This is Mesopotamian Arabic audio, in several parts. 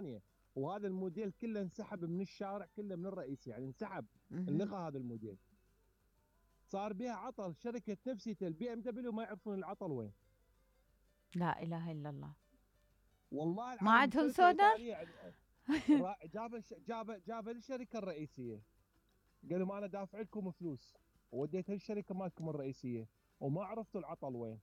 ثانيه. وهذا الموديل كله انسحب من الشارع كله من الرئيسي، يعني انسحب، انلغى هذا الموديل. صار بها عطل، شركه نفسية البي ام دبليو ما يعرفون العطل وين. لا اله الا الله. والله ما العظيم عندهم شركة سونار؟ إيطالية يعني جاب للشركه الرئيسيه، قال لهم انا دافع لكم فلوس ووديتها للشركه مالكم الرئيسيه وما عرفتوا العطل وين.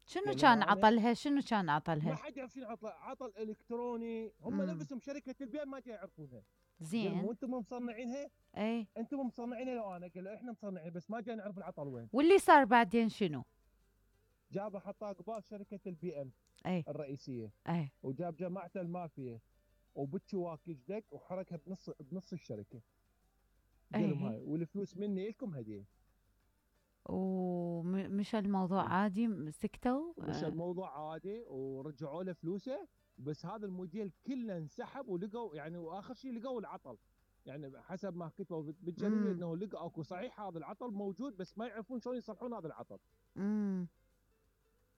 شنو كان عطلها؟ شنو كان ما عطلها؟ حد يعرف شنو عطل الكتروني، هم نفسهم شركه البيع ما يعرفونها. زين. وانتم مصنعينها؟ اي انتم مصنعينها لو انا قال له احنا مصنعين بس ما جاي نعرف العطل وين. واللي صار بعدين شنو؟ جابه حطاه قبال شركه البي ام اي الرئيسيه، اي وجاب جماعه المافيا وبتشواكج دق وحركها بنص الشركه. قال لهم هاي والفلوس مني لكم هديه. ومش الموضوع عادي؟ سكتوا؟ مش الموضوع عادي ورجعوا له فلوسه. بس هذا الموديل كله انسحب ولقوا يعني، واخر شيء لقوا العطل، يعني حسب ما كتبوا بالجريده انه لقوا اكو صحيح هذا العطل موجود بس ما يعرفون شلون يصلحون هذا العطل.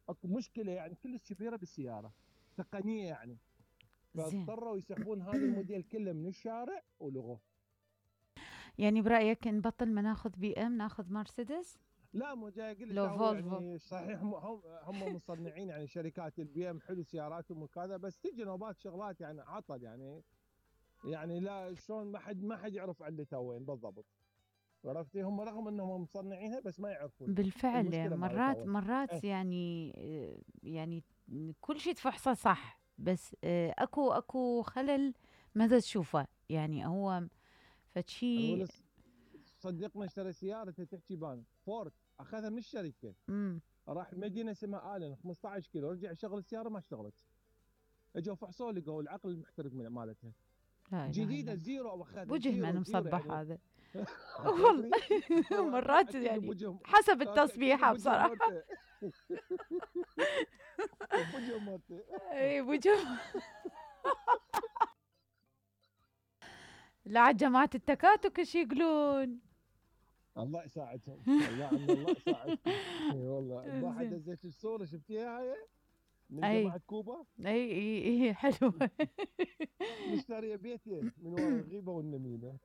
اكو مشكله يعني كلش كبيره بالسياره تقنيه يعني، فاضطروا يسحبون هذا الموديل كله من الشارع ولغوه. يعني برايك نبطل ما ناخذ بي ام ناخذ مرسيدس؟ لا مو جاي اقول لك يعني صحيح هم مصنعين يعني شركات البي ام حلو سياراتهم وكذا، بس تجي نوبات شغلات يعني عطل يعني لا شلون ما حد يعرف علته وين بالضبط. عرفتي هم رغم انهم مصنعينها بس ما يعرفون بالفعل. مرات يعني كل شيء تفحصه صح، بس اكو خلل ماذا تشوفه يعني هو فشي. صديقنا اشترى سياره تحكي بان فورد، اخذها من الشركه. راح مدينه اسمها الن 15 كيلو، رجع شغل السياره ما اشتغلت. اجوا فحصوا لقوا العقل المحترق مالتها جديده زيرو، واخذها وجه من مصبح يعني. هذا. والله مرات يعني حسب التصبيحه بصراحه. بوجه مرتي. اي بوجه. لا جماعه التكاتك ايش يقولون؟ الله يساعدهم. الله يساعدهم. اي والله البارحه دزيت الصوره شفتيها هاي من جماعه كوبا. اي حلوه. مشتريه بيتين من ورا الغيبه والنميمه.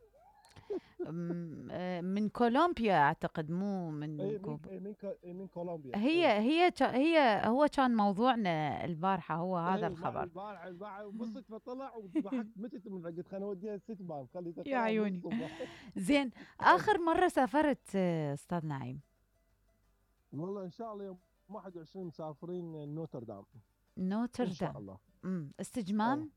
من كولومبيا اعتقد، مو من كوبا. من كولومبيا. هي هو كان موضوعنا البارحه هو هذا الخبر. البارحه وبصت فطلع وضحكت متت من قلت خليني اوديها الست بان خليتها يا عيوني. زين اخر مره سافرت استاذ نعيم؟ والله ان شاء الله يوم 21 مسافرين نوتردام. ان شاء الله. استجمام.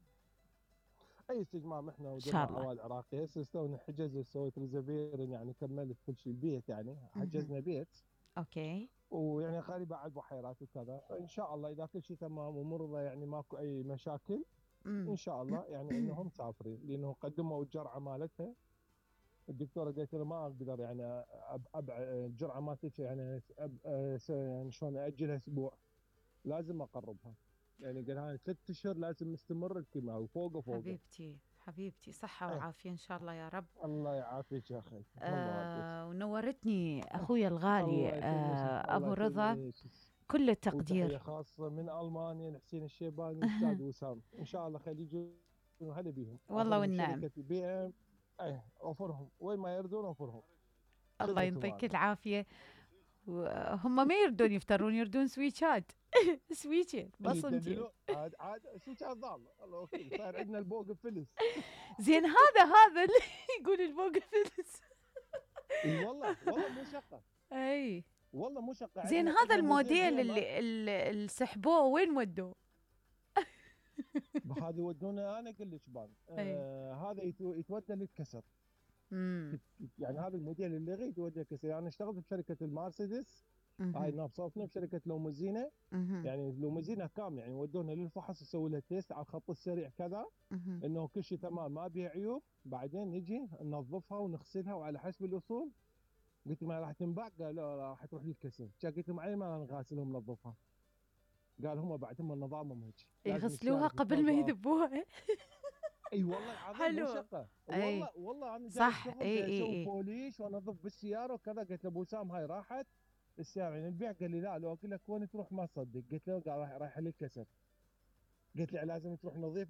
اي استجمام احنا وجماعه عوائل عراقيه هسه استونا حجز سويت ريزرفيرن يعني كملت كل شيء البيت يعني حجزنا بيت. اوكي. ويعني قريبه على البحيرات وكذا، فان شاء الله اذا كل شيء تمام ومرضى يعني ماكو اي مشاكل ان شاء الله يعني انهم مسافرين، لانه قدموا الجرعه مالتها. الدكتوره قالت له ما اقدر يعني الجرعه مالتك يعني شلون اجلها اسبوع، لازم اقربها. يعني قال هاي 3 اشهر لازم نستمر الكيماوي وفوق. حبيبتي صحة وعافية إن شاء الله يا رب. الله يعافيك يا أخي. ونورتني أخويا الغالي أبو رضا، كل التقدير. وتحية خاصة من ألمانيا لحسين الشيباني والأستاذ وسام. إن شاء الله خلي يجون هلا بيهم. والله والنعم. شركة بي ام أوفرهم وين ما يردون أوفرهم. الله يعطيك العافية. هم ما يردون يفترون، يردون سويتشات. سويتشات بس انت عاد سويتشات ضال. الله صار عندنا البوق فلس. زين هذا اللي يقول البوق فلس. اي والله مو شقه. اي والله مو شقه. زين هذا الموديل اللي سحبوه وين ودوه؟ هذا يودونه انا اقول لك بان هذا يتودى للكسر. يعني هذا الموديل اللي غير يتودى للكسر. يعني اشتغلت بشركه المرسيدس هاي نابصوتنا بشركه لوموزينا. يعني لوموزينا كامله يعني ودونا للفحص يسوي لها تيست على الخط السريع كذا انه كل شيء تمام ما بيها عيوب. بعدين نجي ننظفها ونغسلها وعلى حسب الاصول. قلت ما راح تنباع؟ قال لا راح تروح للكسر. قلت لهم علي ما نغاسلها وننظفها؟ قال هم بعد هم نظامهم هيك يغسلوها قبل ما يذبوها. اي والله العظيم مو شقه. والله انا صح. اسوي بوليش وانظف بالسياره وكذا. قلت له ابو سام هاي راحت السياره يعني البيع. قال لي لا لو اقول لك وين تروح ما تصدق. قلت له قال رايح للكسر. قلت لي لازم تروح نظيفه